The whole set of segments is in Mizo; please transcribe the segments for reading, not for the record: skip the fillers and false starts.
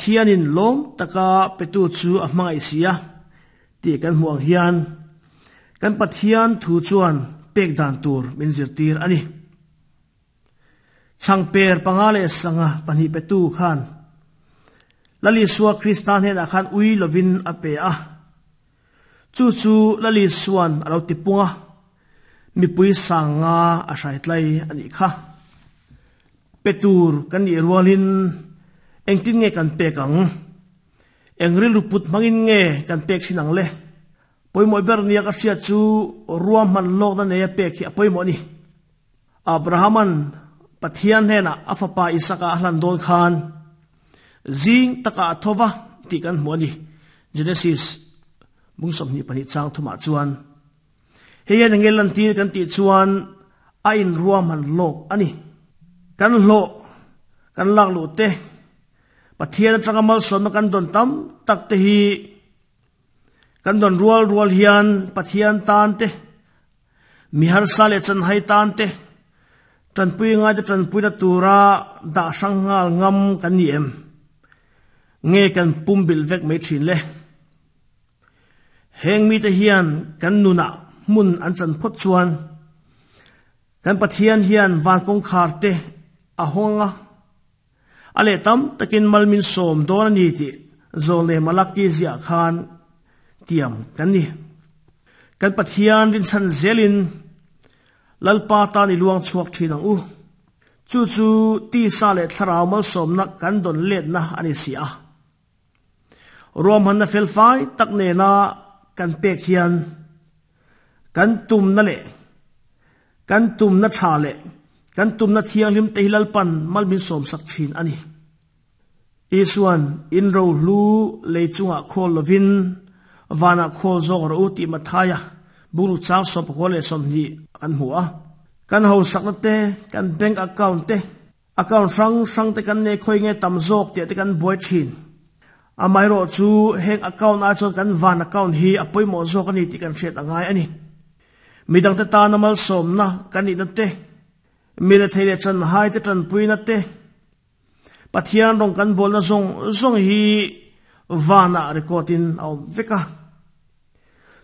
Pathianin lawm taka petu chu a hmangaih si a tih kan hmuh ang hian kan Pathian thu chuan pek dan tur min zirtir a ni. Chhangper panga leh sanga pahnih petu khan Lal Isua Krista hnenah khan ui lovin a pe a. Chu chu Lal Isua'n a lo ti pung a, mipui sang nga a hrai tlai a nih kha. Pe tur kan nih rualin engtin nge kan pek ang? Eng rilru put hmangin nge kan pek thin ang le? Pawimawh ber nia ka hriat chu ruahman lawkna neia pek hi a pawimawh a ni. Abrahama'n Pathian hnenah a fapa Isaka a hlan dawn khan zing takah a tho va tih kan hmu a ni. Genesis bung 22 chang thumah chuan hei hian enge lantir kan tih chuan a inruahman lawk a ni. Kan hlawh kan lak luh te, Pathian atanga malsawmna kan dawn tam tak te hi kan dawn rual rual hian Pathian tan te, Mi harsa leh chanhai tan te, tanpui ngaite tanpuina tura dah hrang nghal ngam kan ni em? Nge kan pumbilh vek mai thin le? Heng mite hian kan nunah hmun an chan phawt chuan kan Pathian hian van kawngkhar te a hawng a, a leh tam takin mal min sawm dawn a ni tih Zawlne Malaki ziah khan tiam kan ni. Kan Pathian rinchhan zelin Lalpa tan i luang chhuak thin ang u. Chu chu tisa leh thlarau malsawmna kan dawn letna a ni si a. Ruahmanna felfai tak nena kan pek hian kan tumna leh kan tumna tha leh kan tumna thianghlim te hi Lalpan mal min sawmsak thin a ni. Isuan, In rohlu lei chungah khawl lovin vanah khawl zawk rawh u tih Mathaia bungruk chang sawmpakua leh 20 kan hmu a. Kan hausakna te, kan bank account te, Account hrang hrang te kan nei khawi nge tam zawk tih te kan buai thin. Amaherawh chu heng account ah chuan kan van account hi a pawimawh zawk a ni tih kan hriat a ngai a ni. Midangte tana malsawmna kan nihna te, mi rethei leh chanhai te tanpuina te, Pathian rawng kan bawlna zawng zawng hi vanah record in a awm vek a.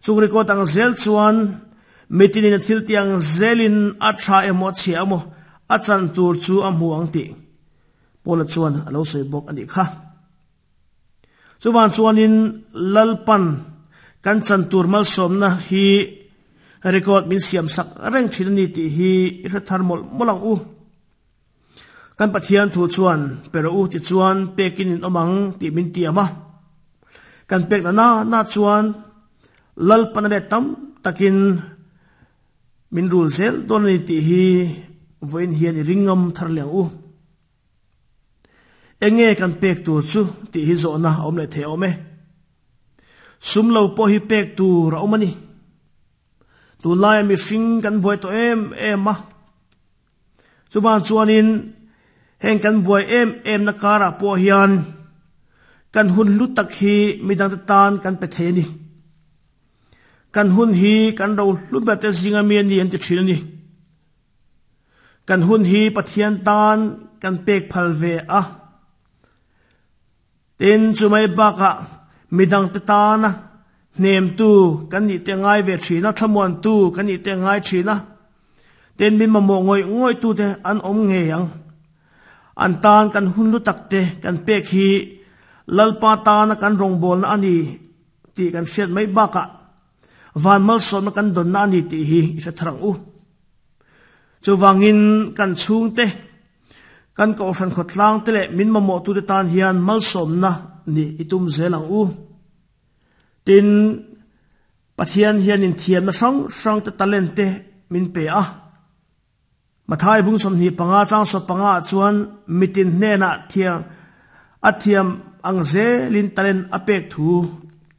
Chung record ang zel chuan mitinin a thil tih ang zelin a tha emaw a chhia emaw a chan tur chu a hmu ang tih Paula chuan a lo sawi bawk a nih kha. Chuvang chuanin Lalpan kan chan tur malsawmna hi record min siam sak reng thin a ni tih hi i hre thar mawlh mawlh ang u. Kan Pathian thu chuan pe rawh u tichuan pekin in awm ang tih min tiam a. Kan pekna na na chuan Lalpana leh tam takin min rul zel dawn a ni tih hi vawiin hian i ring ngam thar leh ang u. Enge kan pek tur chu tih hi zawhna a awm leh thei awm e. Sum lo pawh hi pek tur a awm a ni. Tunlaia mihring kan buai tawh em em a. Chuvang chuanin heng kan buai em em na karah pawh hian kan hun hlu tak hi midangte tan kan pe thei a ni. Kan hun hi kan ro hlu ber te zinga mi a ni an ti thin a ni. Kan hun hi Pathian tan kan pek phal ve a. Tin, chumai bakah midangte tana hnemtu kan nih te ngai ve thin a, thlamuantu kan nih te ngai thin a. Tin, min mamawh ngawih ngawihtute an awm ngei ang. An tan kan hun lu takte kan pek hi Lalpa tana kan rawngbawlna a ni tih kan hriat mai bakah van malsawmna kan dawnna a ni tih hi i hre thar ang u. Chuvangin kan chhungte, Kan Kohhran khawtlang te leh min mamawhtute tan hian malsawmna nih i tum zel ang u. Tin, Pathian hian inthiamna hrang hrang te talent te min pe a. Mathai bung 25 chang 15 ah chuan mitin hnenah thiam a thiam ang zelin talent a pek thu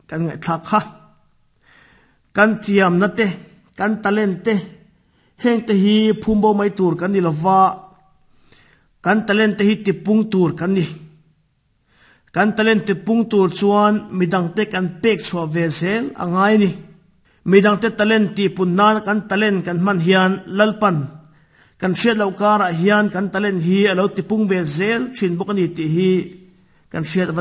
kan ngaihthlak kha. Kan thiamna te, kan talent te Hengte hi phumbo mai tur kan ni lova, kan talent te hi tipung tur kan ni. Kan talent tipung tur chuan midangte kan pek chhuah ve zel a ngai a ni. Midangte talent tihpun nana kan talent kan hman hian Lalpan kan hriat loh karah hian kan talent hi a lo tipung ve zel thin bawk a ni tih hi kan hriat a van.